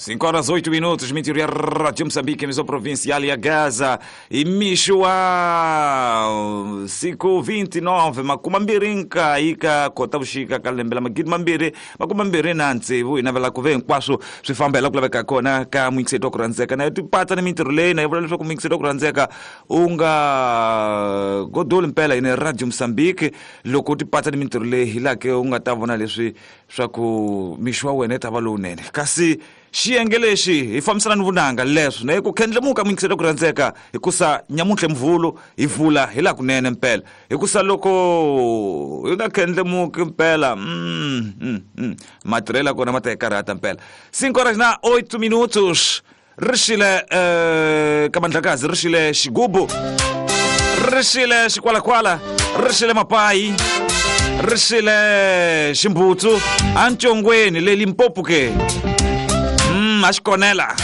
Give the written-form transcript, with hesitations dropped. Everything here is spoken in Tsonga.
5 horas 8 minutos, Mintirho ya Rádio Moçambique, emissão provincial ya Gaza. I mixo wa siku 29 20 ka Khotavuxika ka lembe la 2026 hi navela ku ve hinkwaswo swi famba hi la ku laveka kona ka muyingiseti wa ku rhandzeka na tipatsa ni mintirho leyi na yi vula leswaku muyingiseti wa ku rhandzeka u nga godoli mpela yini Radio Moçambique loko u tipatsa ni mintirho leyi hi laha ke u nga ta vona leswi swa ku mixo wa wena yi ta va lowunene kasi xiyenge lexi hi fambisana ni vunanga leswo na ku khendlemuka muyingiseli ku rhandzeka hikusa nyamuntlha mvulu hi vula hi laha kunene mpela hikusa loko hi nga khendlemuki mpela matirhelo ya kona ma ta hi karhata mpela. 5 horas na 8 minutos. Ri xile ka mandlakazi, ri xile xigubu, ri xile xikwalakwala, ri xile mapayi, ri xile ximbutsu antshongweni le Limpopo ke a xikonela.